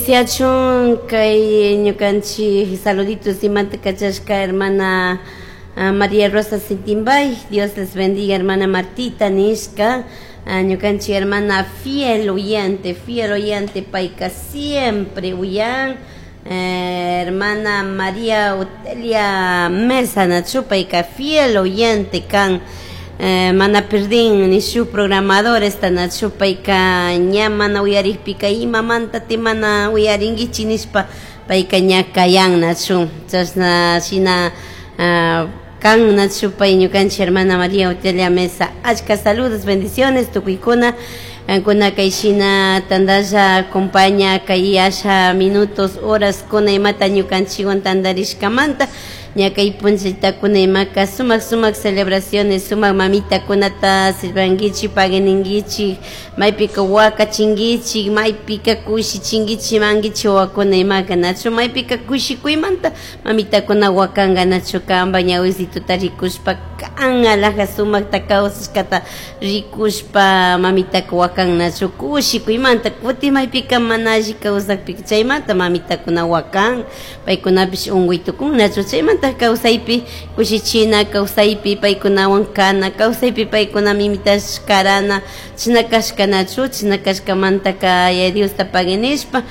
Bendiciachun kay ñukanchik saluditos imanta kachashka hermana María Rosa Sintimbay. Dios les bendiga, hermana Martita nishka. Ñukanchik hermana fiel oyente, fiel oyente, payka siempre uyan. Hermana María Otelia Mesa nachu, payka fiel oyente kan. Mana perdin ni shu programadores nachu, payka ña mana uyarikpika imamanta ti mana uyarinkichik nishpa payka ña kayan nachu. Chashna shina kan nachu pay ñukanchik hermana María Otelia Mesa. Achka saludos, bendiciones tukuykuna. Kankuna kay shina tandalla acompaña kay asha minutos, horas kuna imata ñukanchikwan tandarishkamanta. Ña kay punllatakuna imaka sumak sumak celebraciones, sumak mamitakunata silvankichik, pagueninkichik, maypika wakachinkichik, maypika kushichinkichik mankichik wawakuna imaka nachu, maypika kushikuymanta mamitakuna wakanka nachu, kanpa ñawisituta rikushpa kan alhaja sumakta kawsashkata rikushpa mamitaka wakan nachu kushikuymanta. Kutin maypika mana alli kawsakpika chaymanta mamitakuna wakan, paykunapish unkuy tukun nachu. Chaymanta kawsaypi kushichina, kawsaypi paykunawan kana, kawsaypi paykuna mimitash karana, chashna kashka nachu. Chashna kashkamantaka Yaya Diosta paguinishpa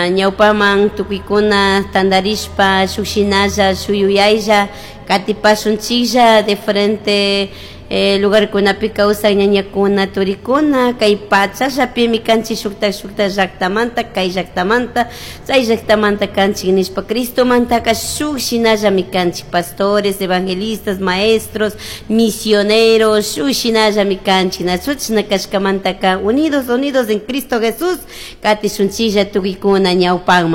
ñawpaman tukuykuna tandarishpa shuk shinalla shuk yuyaylla katipashunchiklla diferente lugarkunapi kawsak ñañakuna turikuna kay pachallapimi kanchik shuktak shuktak llaktamanta, kay llaktamanta chay llaktamanta kanchik nishpa Cristomantaka shuk shinallami kanchik, pastores, evangelistas, maestros, misioneros, shuk shinallami kanchik nachu. Chashna kashkamantaka unidos, unidos en Cristo Jesús katishunchiklla tukuykuna ñawpakman.